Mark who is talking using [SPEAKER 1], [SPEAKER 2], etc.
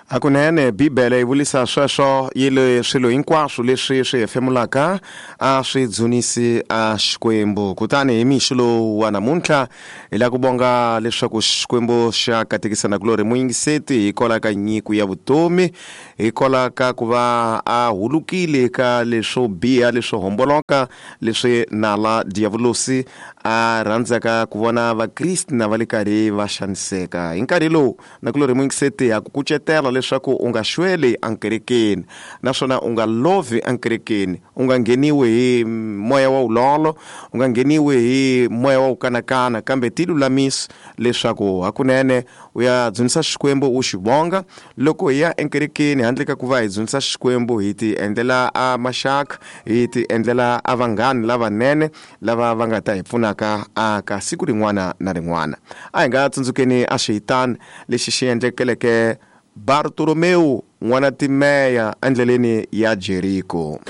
[SPEAKER 1] Hakunene Bibele yi vulisa sweswo yi le swilo hinkwaswo leswi swi hefemulaka a swi dzunisi a Xikwembu. Kutani hi mixo lowu wa namuntlha hi lava ku vonga leswaku Xikwembu xa katekisa nakulorhi muyingiseti hikwalaho ka nyiko ya vutomi, hikwalaho ka ku va a hulukile ka leswo biha leswo homboloka leswi nala diyavulosi a rhandzaka ku vona Vakriste na va le karhi va xaniseka. Hi nkarhi lowu nakulorhi muyingiseti ha ku kucetela leswaku u nga xweli enkerekeni naswona u nga lovhi enkerekeni, u nga ngheniwi hi moya wa vulolo, u nga ngheniwi hi moya wa ku kanakana, kambe ti lulamisi leswaku hakunene u ya dzunisa Xikwembu u xi vonga. Loko hi ya enkerekeni handle ka ku va hi dzunisa Xikwembu, hi ti endlela a maxaka, hi ti endlela a vanghani lavanene lava va nga ta hi pfunaka aka siku rin'wana na rin'wana. A hi nga tsundzukeni a xihitani lexi xi endlekeleke Bartolomewu n'wana Timeya endleleni ya Jeriko.